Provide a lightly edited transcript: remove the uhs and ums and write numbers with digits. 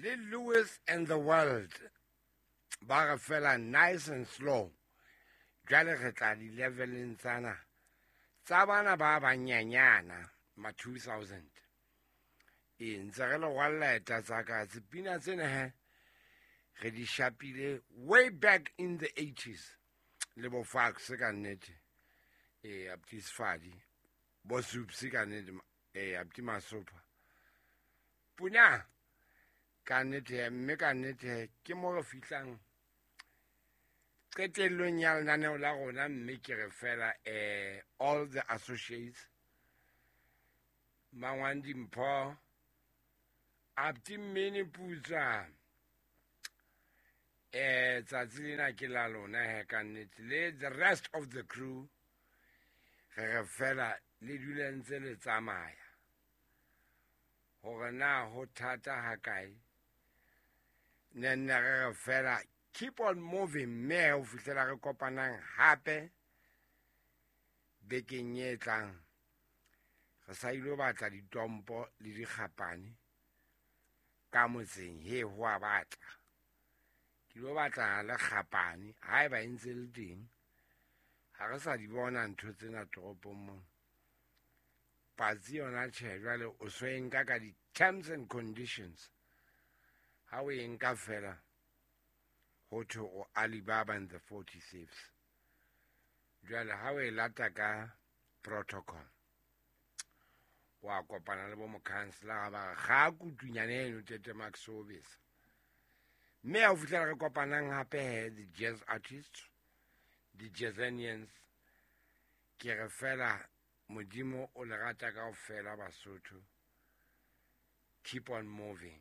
Le Lewis and the World ba re fela nice and slow. Jwale re tla di-leveleng tsana tsa bana ba banyanyana ma 2000. Ee, ntse re le rwalla eta tsa ka tsepina tsena he re di shapile way back in the 80s le bo Fax ka nnete. Ee, abuti Sefadi, bo Soups ka nnete, ee, abuti Masopha. Puna ka nnete, mme ka nnete ke mo re fihlang qetellong ya lenaneo la rona, mme ke re fela all the associates, Mangwang Dimpho, abuti Mmene Putswa, tsatsi lena ke la lona he ka nnete, le the rest of the crew, re re fela le dule ntse le tsamaya hore na ho thata hakae, ne nne re re fela keep on moving, mme ho fihlela re kopanang hape bekeng e tlang. Re sa ilo batla ditompo le dikgapane ka motseng, he ho a batla ke lo batla le kgapane haeba e ntse le teng. Ha re sa di bona ntho tsena toropong mona. Patsi yona tjhe, jwale o so e nka ka di-terms and conditions. Ha o e nka fela ho thwe o Alibaba and the 40 Thieves. Jwale ha o e lata ka protocol, wa kopana le bo mokhanselara ba re ga kutunyane eno tete Max Obesa. Mme ha o fihlela re kopanang hape he, the jazz artists, the jazzanians, ke re fela Modimo o le rata kaofela Basotho. Keep on moving.